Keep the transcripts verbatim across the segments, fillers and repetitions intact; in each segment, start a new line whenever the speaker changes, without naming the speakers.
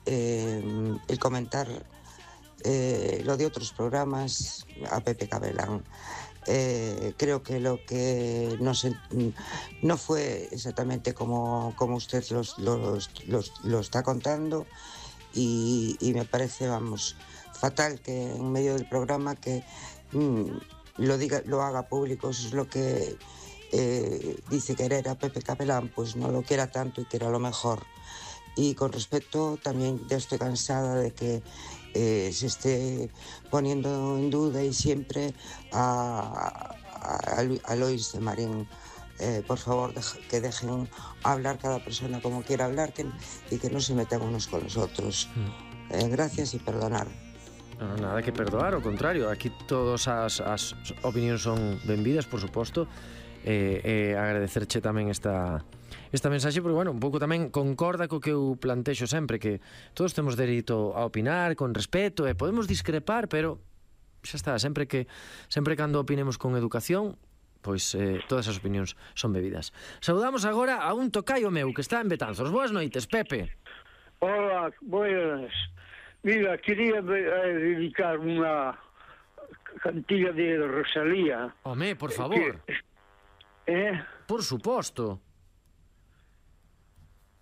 eh, el comentar eh, lo de otros programas a Pepe Cabelán. Eh, creo que lo que no, se, no fue exactamente como, como usted los, los, los, lo está contando y, y me parece, vamos, fatal que en medio del programa que mm, lo diga, lo haga público. Eso es lo que eh, dice querer a Pepe Cabelán, pues no lo quiera tanto y quiera lo mejor. Y con respecto, también ya estoy cansada de que eh, se esté poniendo en duda y siempre a, a, a Lois de Marín. Eh, por favor, deja, que dejen hablar cada persona como quiera hablar que, y que no se metan unos con los otros. Eh, gracias y perdonar.
Non, nada que perdoar, ao contrario, aquí todas as, as opinións son benvidas, por suposto, e eh, eh, agradecerche tamén esta... esta mensaxe, porque, bueno, un pouco tamén concorda co que eu plantexo sempre, que todos temos dereito a opinar con respeto e podemos discrepar, pero xa está, sempre que sempre cando opinemos con educación, pois eh, todas as opinións son bebidas. Saudamos agora a un tocaio meu que está en Betanzos. Boas noites, Pepe.
Hola, buenas. Mira, quería eh, dedicar unha cantiga de Rosalía.
Home, por favor.
Que, eh?
Por suposto.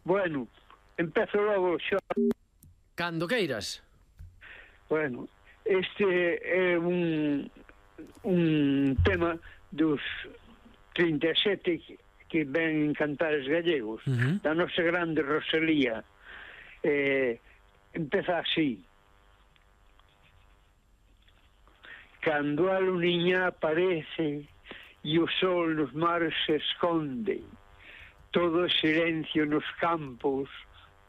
Bueno, empezo logo xa.
Cando queiras.
Bueno, este é un un tema dos trinta e sete que ven cantares gallegos, uh-huh. da nosa grande Rosalía. Eh, empeza así. Cando a luniña aparece e o sol nos mares se esconde, todo é silencio nos campos,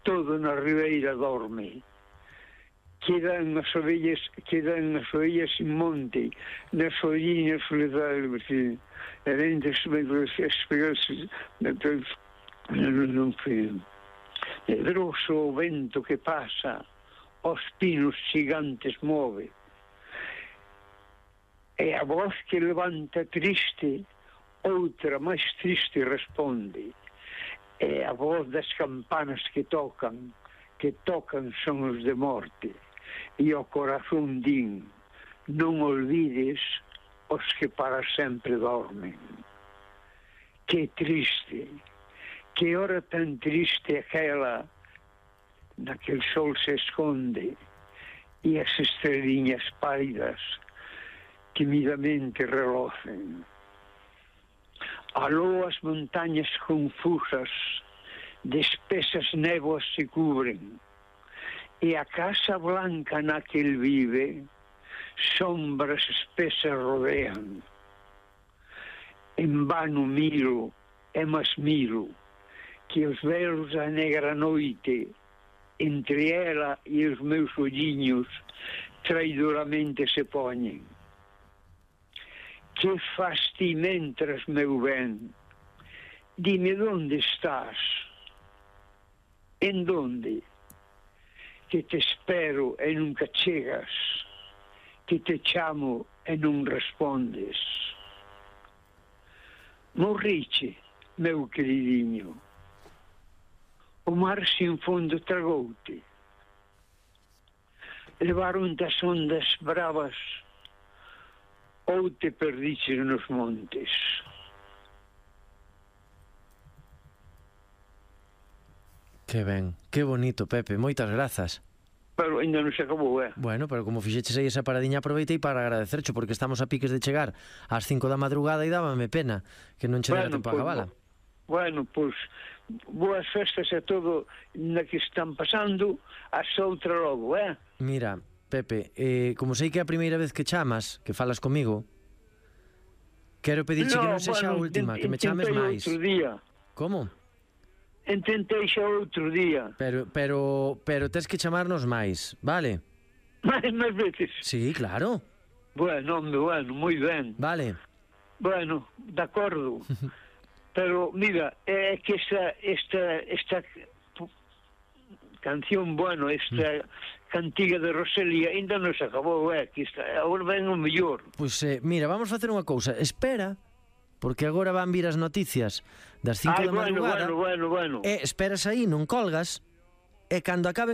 todo na ribeira dorme. Quedan as ovellas, quedan as ovellas sin monte, nas olliñas soledade, e dentro espegarse, non foi. Nedroso o vento que pasa, os pinos gigantes move. E a voz que levanta triste, outra máis triste responde. E a voz das campanas que tocan, que tocan son os de morte. E o corazón din, non olvides os que para sempre dormen. Que triste, que hora tan triste aquela, naquel sol se esconde, e as estreliñas pálidas timidamente relocen. Aló as montañas confusas, de espesas néboas se cubren, e a casa blanca na que el vive, sombras espesas rodean. En vano miro, e mas miro, que os velos da negra noite, entre ela e os meus olliños, traidoramente se poñen. Que fas ti mentras, meu ben? Dime onde estás? En donde? Que te espero e nunca chegas, que te chamo e non respondes. Morriche, meu queridinho. O mar sin fondo tragoute. Levaron das ondas bravas ou te perdiches nos montes.
Que ben, que bonito, Pepe, moitas grazas.
Pero ainda non se acabou, eh?
Bueno, pero como fixeches aí esa paradiña, aproveitei para agradecercho, porque estamos a piques de chegar ás cinco da madrugada e dábame pena que non che dera
bueno,
tempo
pues,
a cabala.
Bueno, pois, pues, boas festas a todo na que están pasando, hasta outra logo, eh?
Mira, Pepe, eh, como sei que é a primeira vez que chamas, que falas comigo, quero pedirche
no,
que non sexa
bueno,
a última, que me chames máis.
Outro día.
Como?
Ententei xa outro día.
Pero, pero, pero tes que chamarnos máis, vale?
Mais, máis veces?
Sí, claro.
Bueno, hombre, bueno, moi ben.
Vale.
Bueno, de acordo. Pero, mira, é que esta, esta, esta canción, bueno, esta mm. cantiga de Rosalía ainda non se acabou, é, que está, agora ven o mellor.
Pois, eh, mira, vamos facer unha cousa, espera, porque agora van vir as noticias das cinco
Ay,
da madrugada.
Bueno, bueno, bueno.
E esperas aí, non colgas, e cando acaben